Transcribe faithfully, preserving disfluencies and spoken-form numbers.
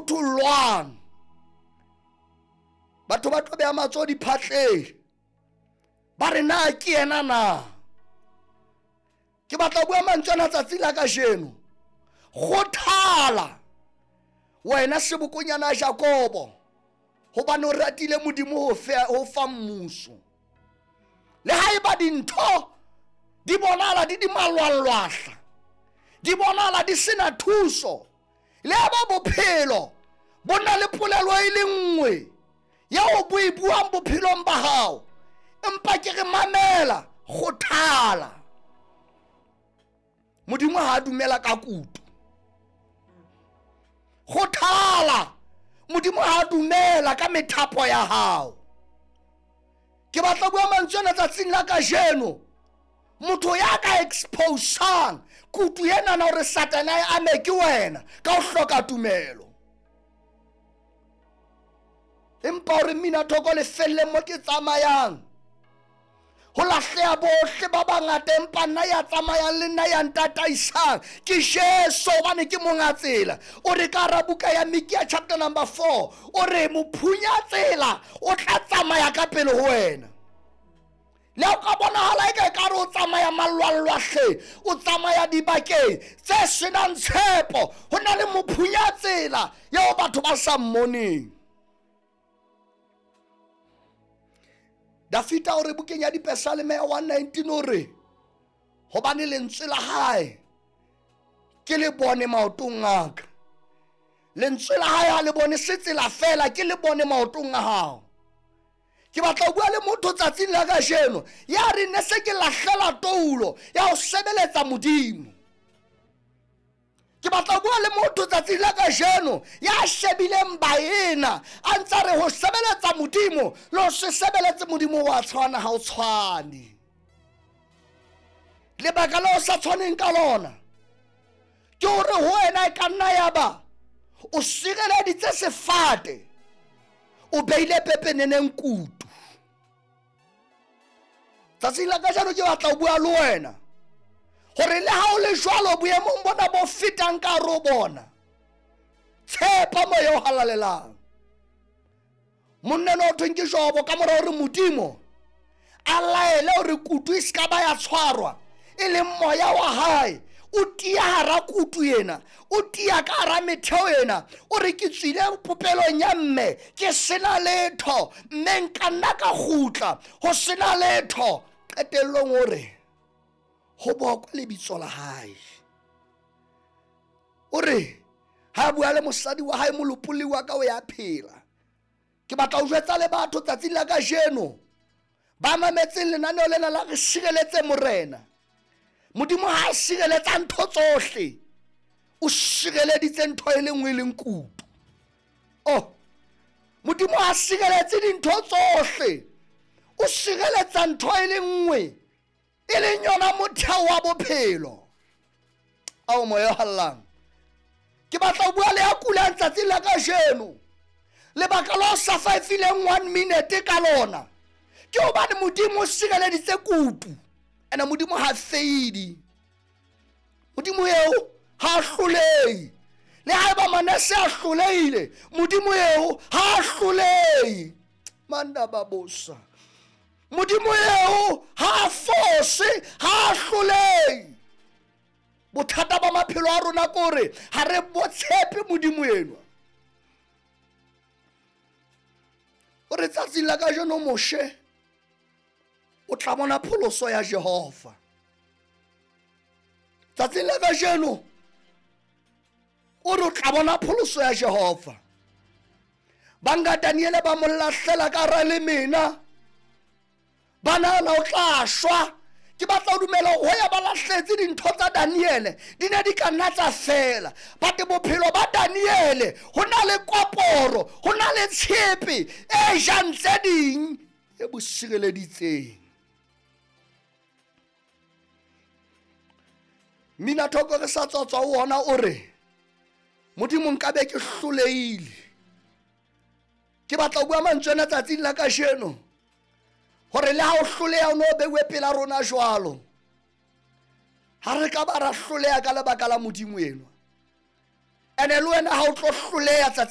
phuthollwang. Batho ba tlo beha matsoho diphatleng, ba re na ke yena na. Ke batla ho bua mantswe ana tsatsi la kajeno. Kgothala wena sebokonyana Jakobo, hobane o ratile Modimo ho fa ho fa mmuso. Le haeba dintho di bonahala di di malwalwahla, di bonahala di sena thuso, le ha bophelo bo na le polelo e le nngwe eo bo e buang bophelong ba hao, empa ke re mamela, kgothala. Modimo ha a dumela ka kutu. Kgothala. Modimo ha a dumela ka methapo ya hao. Ke batla bua mantswe ana tsatsing la kajeno. Motho ya ka exposang kutu ena na hore Satane a ame ke wena ka ho hloka tumelo. Empa hore mina thoko le felle mo ke tsamayang, ho lahleha bohle ba bangata, empa nna ya tsamayang le nna ya ntataisang ke Jesu, hobane ke monga tsela. O re ka hara buka ya Mikea chapter number four, o re mophunya tsela o tla tsamaya ka pele ho wena. Le ha o ka bonahala eka ekare o tsamaya malwalwahle, o tsamaya dibakeng tse senang tshepo, ho na le mophunya tsela eo batho ba sa mmoneng. Dafita o re bukeng ya Dipesaleme ya one nineteen o re, hobane lentswe la hae ke le bone maotong a ka. Lentswe la hae ha le bone se tsela fela, ke le bone maotong a hao. Ke batla ho bua le motho tsatsing la kajeno ya re ne se ke lahlela toulo ya ho sebeletsa Modimo. Ke batla ho bua le motho tsatsing la kajeno ya shebileng baena a ntsa re ho sebeletsa Modimo le ho se sebeletse Modimo wa tshwana, ha o tshwane. Lebaka la o sa tshwaneng ka lona ke hore ho wena e ka nna ya ba o sireleditse sefate, o beile pepeneneng kutu. Tsatsing la kajeno ke batla ho bua le wena hore le ha o le jwalo boemong bona bo fetang ka hare ho bona, tshepa moya o halalelang. Monna enwa ho thweng ke Jobo, ka mora hore Modimo a laele hore kutu e ska ba ya tshwarwa, e leng moya wa hae o tia hara kutu ena, o tia ka hara metheo ena, o re ke tswile popelong ya mme ke sena letho, mme nka nna ka kgutla ho sena letho. Qetellong o re ho bokwe lebitso la hae. O re ha bua le mosadi wa hae, molopolli wa ka o ya phela. Ke batla ho jwetsa le batho tsatsing la kajeno ba mametseng lenaneo lena la re sireletse Morena. Modimo ha a sireletsa ntho tsohle, o sireleditse ntho e le nngwe e leng kutu. Oh, Modimo ha sireletse dintho tsohle, o sireletsa ntho e le nngwe e leng yona motheo wa bophelo. Ao moya o hallang, ke batla ho bua le ya kulang tsatsing la kajeno. Lebaka la o sa faefileng one minute ka lona ke hobane Modimo o sireleditse kutu. Ene Modimo ha feidi, Modimo eo ha hlolehe. Le haeba Manase a hlolehile, Modimo eo ha hlolehe. Manda babosa, Modimo eo ha fose, ha hlolehe. Bothata ba maphelo a rona ke hore ha re bo tshepe Modimo enwa. O re tsatsing la kajeno Moshe o tla bona pholoso ya Jehova. Tsatsing la kajeno o re o tla bona pholoso ya Jehova. Banga Daniele ba mo lahlela ka hara lemena, ba nahana o tla shwa. Ke batla ho dumela hore ho ya ba lahletse dintho tsa Daniele di ne di ka nna tsa fela, but bophelo ba Daniele ho na le koporo, ho na le tshepe e jang tse ding e bo sireleditseng. Mina thoko re sa tswa tswa ho ona o re Modimo nka be ke hlolehile. Ke batla ho bua mantswe ana tsatsing la kajeno hore le ha o hloleha o no beuwe pela rona jwalo, ha re ka ba ra hloleha ka lebaka la Modimo enwa. Ene le wena ha o tlo hloleha tsatsing